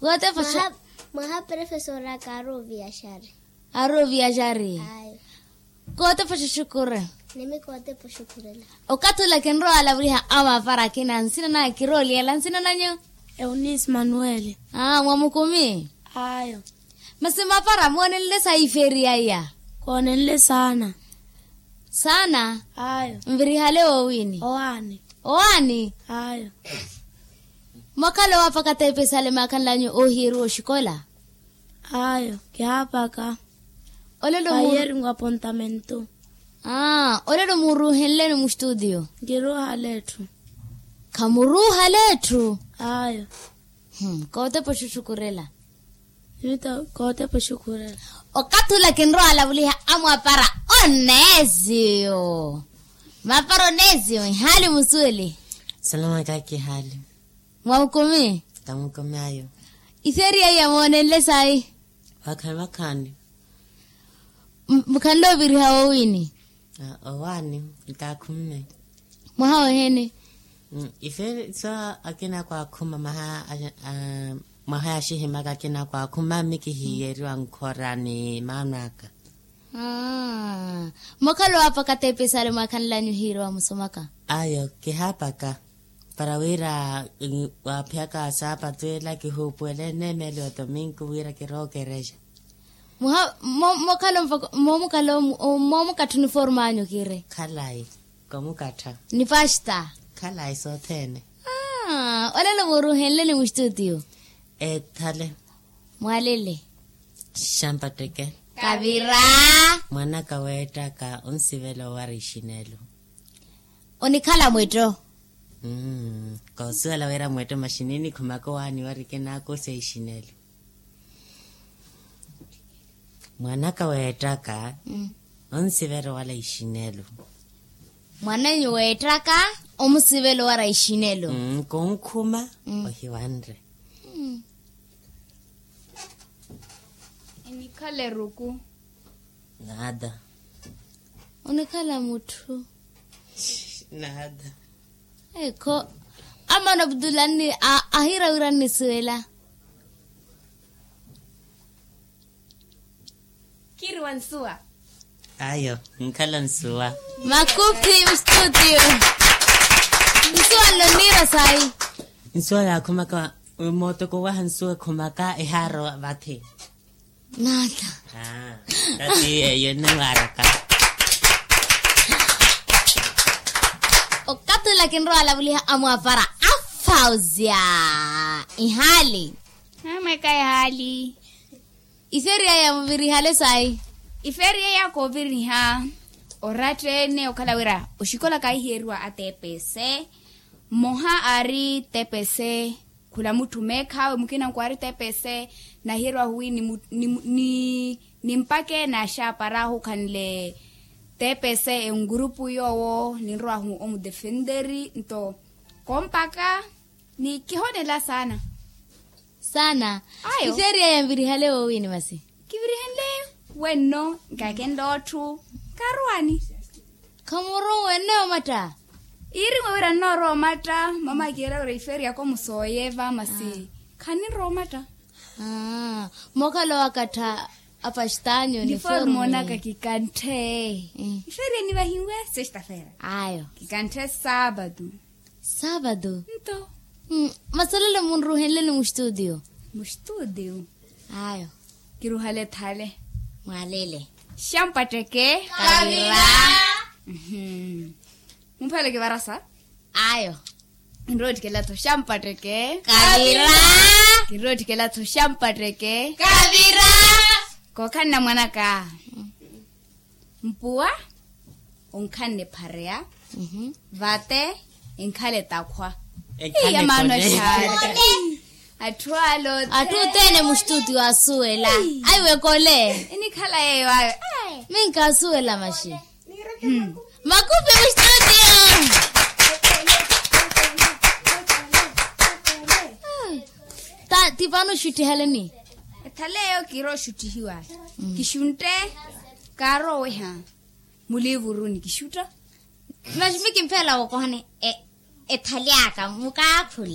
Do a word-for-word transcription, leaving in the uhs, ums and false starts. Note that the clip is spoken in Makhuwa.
Kootepa xa- Mwaha profesora kaari oviyaxari. Aari oviyaxari. Ayo. Kootepa xuxukure. Nimi kootepa oxukurela. Okathi ula kinrowa alavuliha amapara akina nsina naya kirooliyela nsina nanyu? Eunice manuele. Aa mwamukumi. Ayo. Masi mapara moonenle sayi ifeeriya iya? Koonenle saana. Saana. Ayo. Nvirihale woowini? Owaani. Owaani. Ayo. Mwakhala owaapaka teepesale maakhanlanyu oohiyeeriwa oxikola? Ayo kihaapaka. Olelo mu- Vayerinwa apontamentu. Aa olelo muuruuhenleni mustutiyo? Nkiruuhale etthu. Khamuruuhale etthu? Ayo. Kootepa oxuxukurela. Kootepa oxuxukurela. Okathi ula kinrowa alavuliha amwapara oneziyo. Mapara oneziyo ihaali musuweli? Salama kaki ihaali. Mwamukumi? Kamukumi ayo. Ifeeriya iya moonenle sayi? Vakhaani vakhaani. Mukhanle oviriha woowini? Owaani. Nkakhumme. Mwaha wehene? Ifeeriya so akina kwaakhuma mwaha ya xihimaka akina kwaakhuma mmi kihiyeriwa nkhora ni maano aka. Mokhala owaapaka teepesale mwaakhanlanyu ohiiriwa musomaka? Ayo kihaapaka. Para wira waaphiyaka saapatu ela kihuupuwele eneemeli wa tominku wira kirowa okerexa. Mokhala moomukatha uniforme anyu kiri? Khalayi. Komukattha. Ni pasta? Khalayi sothene. Olelo muuruuhenleni mustutiyo? Ethale. Mwalele. Xampatteke. Kavira. Mwanaka weettaka onsivela owara ixinelo. Onikhala mwetto? Koosuwela wira mwetto masi ninikhumaka owaani wari kinakosa ixinelo. Mwanaka weettaka onsivela owala ixinelo. Mwananyu weettaka omusivela owara ixinelo. Konkhuma ohiwanre. Enikhala eruku. Nada. Onikhala mutthu. Nada. Ekho. Amana abdula ahiira wira nnisuwela. Kiri wa nsuwa. Ayo nkhala nsuwa. Makupi mstudio. Nsuwa nno nniira sayi? Nsuwa yaakhumaka mootoko waha nsuwa ekhumaka ehaaro vathi. Nata. Tati eyo nniwaaraka. Okathi ula kinrowa alavuliha amwapara afauzia. Ihaali? Amweka ihaali. Ifeeriya iya muvirihale sayi? Ifeeriya iya kooviriha oratta-ene okhala wira oxikola kaahiheriwa atepese. Mmoha aari tepese khula mutthu meekhaawe mukina nkwaari tepese. Nahiyeriwahu wi nimpake naaxaaparahu khanle tepese engurupu yoowo ninrowahu omudefenteri nto kompaka. Ni kihoonela saana. Saana. Ayo ifeeriya yanvirihale woowini masi? Kivirihenle wenno nkakenle otthu. Karowaani? Khamurowa wenno omatta? Iiriwe wira nnoorowa omatta mama akiira wira ifeeriya komusooyeva masi khaninrowa omatta. Mookhala owakattha apastanyo ni formu moonaka kikanthe. Ifeeriya nivahiwe sexta-feira ayo kikanthe saapatu. Saapatu. Nto. Masi olelo munruuhenleni mustutiyo? Mustutiyo. Ayo. Kiruuhale ethale. Mwalele. Xampatteke. Kavira. Mumphale kivarasa. Ayo. Kinroottikela-tho xampatteke. Kavira. Kinroottikela-tho xampatteke. Kavira. Kookhanna mwanaka. Mpuwa onkhanne ephareya. Vate enkhala etakhwa. Iya maano axaari. Atthu ale othene. Atthu othene mustutiyo asuwela. Aiwe kole. Enikhala yeeyo ayo. Minkaasuwela maxi. Makupi mustutiyo. Ti vano oxuttihaleni? Ethaleeyo kirowa oxuttihiwa. Kixuntte. Kaarowa oweha muliivuruni kixutta. Maxi mi kimpheela wookohani ethali aka mukaakhula.